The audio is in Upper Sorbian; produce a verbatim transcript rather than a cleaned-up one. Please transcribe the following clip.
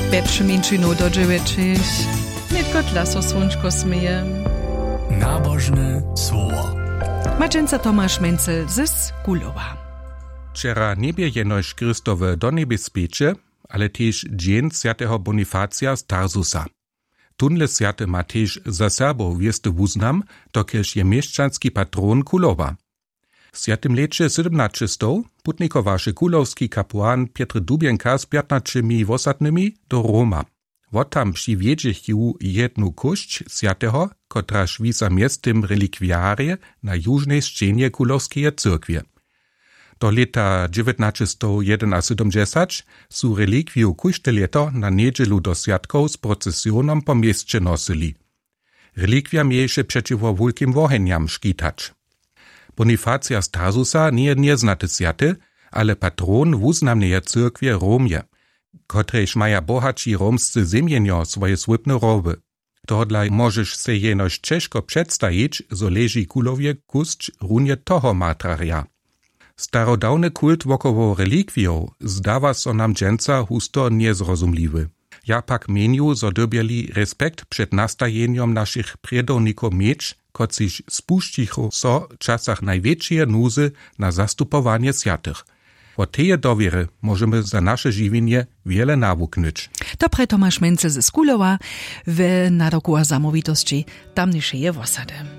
Pjeć mjeńšinow do dźewjećich. Nětko dla so słónčko směje. Nabožne słowo. Maćenca Tomaš Mencel z Kulowa. Wčera njebě jenož Chrystowe do njebě spěće, ale tež dźeń swjateho Bonifacija z Tarsusa. Tónle swjaty ma tež za Serbow wěsty wuznam, dokelž je měšćanski patron Kulowa. W swjatym lěće sydomnaćestow putnikowaše kulowski kapułan Pjetr Dubjenka z pjatnaćimi wosadnymi do Roma. Wot tam přiwjedźechu jednu kósć swjateho, kotraž wisa mjeztym relikwiarje na južnej sćenje kulowskeje cyrkwje. Do lěta dźewjatnaćestowjedynasydomdźesać su relikwiju kóžde lěto na njedźelu do swjatkow z procesionom po měsće nosyli. Relikwija měješe přećiwo wulkim wohenjam škitać. Bonifacija z Tarsusa njeje njeznaty swjaty, ale patron wuznamneje cyrkwje w Romje, kotrejž maja bohaći romscy zemjenjo swoje słypne rowy. Tohodla móžeš sej jenož ćežko předstajić, zo leži Kulowje kósć runje toho martrarja. Starodawny kult wokoło relikwijow zdawa so nam dźensa husto njezrozumliwy. Ja pak měnju, zo dyrbjeli respekt před nastajenjom našich prědownikow měć, kotřiž spušćichu so w časach najwjetšeje nuzy na zastupowanje swjatych. Wot teje dowěry móžemy za naše žiwjenje wjele nawuknyć. To prje Tomaš Mencel z Kulowa w nadawku a zamołwitosći tamnišeje wosady.